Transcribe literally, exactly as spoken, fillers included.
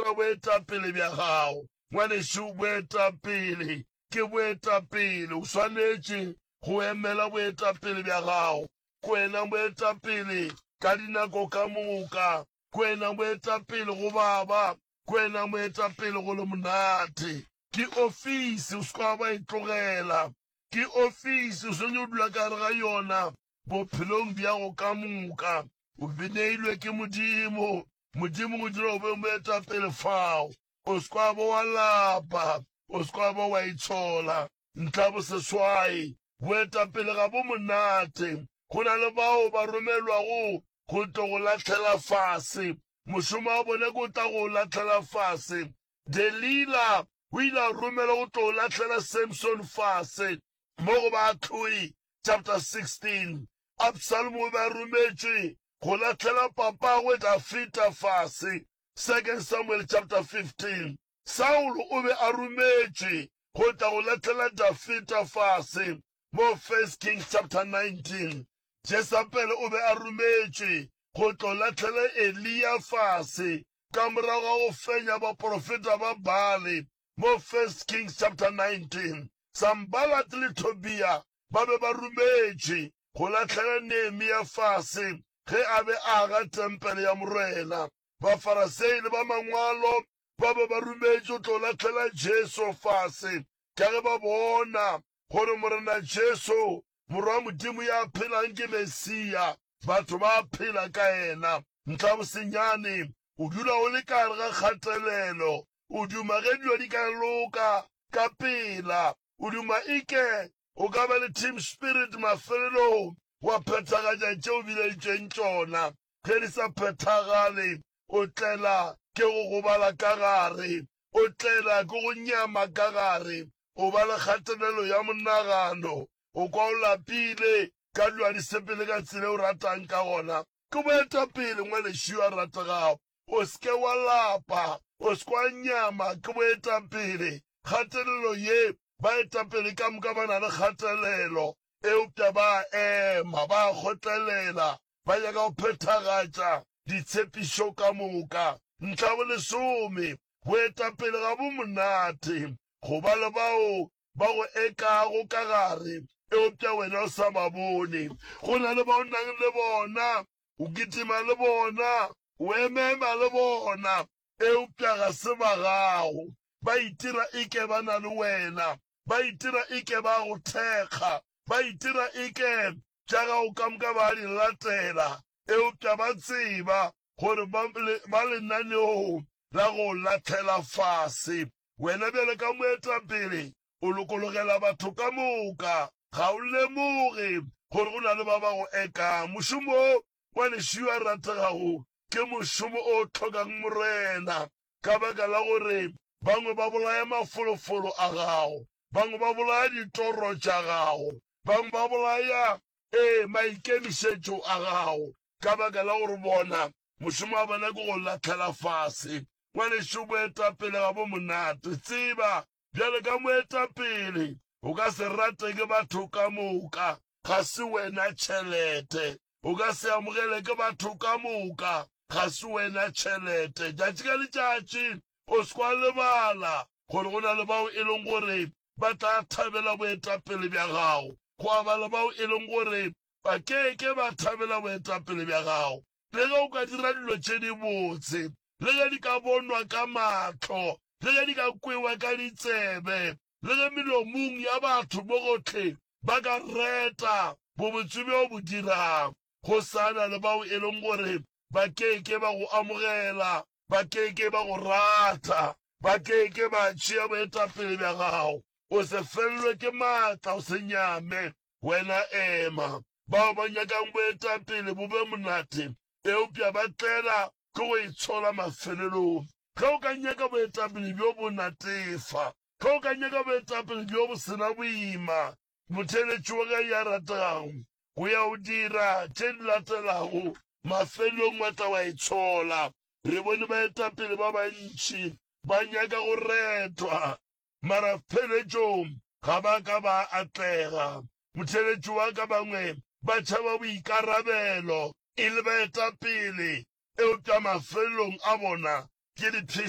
Swara boetapele bja gago. Ngwanešu, boetapele ke boetapele. O swanetše go emela boetapele bja gago. Ke wena moetapele ka dinako ka moka. Ke wena moetapele go baba. Ke wena moetapele go le monate. Ke ofisi, o se ke wa ba e tlogela. Ke ofisi, o swanetše go dula ka gare ga yona bophelong bjago ka moka. O neilwe ke Modimo. Modimo go dira o be moetapele fao. O se ke wa ba wa lapa. O se ke wa ba wa itshola. Ntlha boseswai, boetapele ga bo monate. Go na le bao ba romelwago go tlo go lahlela fase. Mošomo wa bona ke o tla go lahlela fase. Delila o ile a romelwa go tlo lahlela Samson fase mo go Baahlodi chapter sixteen. Absalom o be a rometšwe go lahlela papagwe Dafida fase, Second Samuel chapter fifteen. Saulo o be a rometšwe go tla go lahlela Dafida fase mo First Kings chapter nineteen. Jesabele o be a rometšwe go tlo lahlela Eliya fase ka morago ga go fenya baporofeta ba Baale mo First Kings chapter nineteen. Sambalat le Tobia ba be ba rometšwe go lahlela Nehemia fase ge a be a aga tempele ya Morena. Bafarasei le ba mangwalo ba be ba rometšwe go tlo lahlela Jesu fase ka ge ba bona gore Morena Jesu, Morwa wa Modimo ya phelang ke Mesia, batho ba phela ka yena. Ntlha bosenyane, o dula o le ka gare ga kgatelelo, o duma ge dilo di ka loka ka pela, o duma eke o ka ba le team spirit mafelelong wa phethagatša tše o bileditšweng tšona. Ge di sa phethagale, o tlela ke go gobala ka gare, o tlela ke go nyama ka gare, o ba le kgatelelo ya monagano, o kwa o lapile ka dilo di sepele ka tsela o ratang ka gona. Ke boetapele, ngwanešu yo a rategago. O se ke wa lapa, o se ke wa nyama. Ke boetapele. Kgatelelo ye, baetapele ka moka ba na le kgatelelo, eupša ba ema, ba kgotlelela, ba nyaka go phethagatša ditshepišo ka moka. Ntlha bolesome, boetapele ga bo monate go ba le bao ba go ekago ka gare, eupša wena o sa ba bone. Go na le bao nang le bona, o kitima le bona, o emema le bona, eupša ga se ba gago. Ba itira eke ba na le wena, ba itira eke ba go thekga, ba itira eke tša gago ka moka ba di latela, eupša ba tseba gore ba lenaneong la go lahlela fase. Wena bjale ka moetapele o lokologela batho ka moka, ga o lemoge gore go na le ba ba go ekang. Mošomo wo, ngwanešu yo a rategago, ke mošomo o hlokang Morena, ka baka la gore bangwe ba bolaya mafolofolo a gago, bangwe ba bolaya ditoro tša gago, bangwe ba bolaya ee maikemišetšo a gago, ka baka la gore bona mošomo wa bona ke go lahlela fase. Ngwanešu, boetapele ga bo monate. Tseba, bjale ka moetapele o ka se rate ke batho ka moka, ga se wena tšhelete. O ka se amogele ke batho ka moka, ga se wena tšhelete. Tšatši ka letšatši o se kwa lebala gore go na le bao e leng gore ba tla thabela boetapele bja gago, gwa ba le bao e leng gore ba ke ke ba thabela boetapele bja gago. Le ge o ka dira dilo tše dibotse, le ge di ka bonwa ka mahlo, le ge di ka kwewa ka ditsebe, le ge melomong ya batho mo gohle ba ka reta bobotse bjo bo dirang, go sa na le bao e leng gore ba ke ke ba go amogela, ba ke ke ba go rata, ba ke ke ba tšea boetapele bja gago. O se fellwe ke maatla, o se nyame, wena ema. Bao ba nyakang boetapele bo be monate, eupša ba tlela ke go itshola mafelelong. Ge o ka nyaka boetapele bjo bo natefa, ge o ka nyaka boetapele bjo bo sena boima, motheeletši wa ka ya rategago, go ya o dira tše di latelago, mafelelong wa tla wa itshola. Re bone baetapele ba bantši ba nyaka go retwa, mara pheletšong ga ba ka ba atlega. Motheeletši wa ka, bangwe ba tšhaba boikarabelo e le baetapele, eupša mafelelong a bona ke dipheši.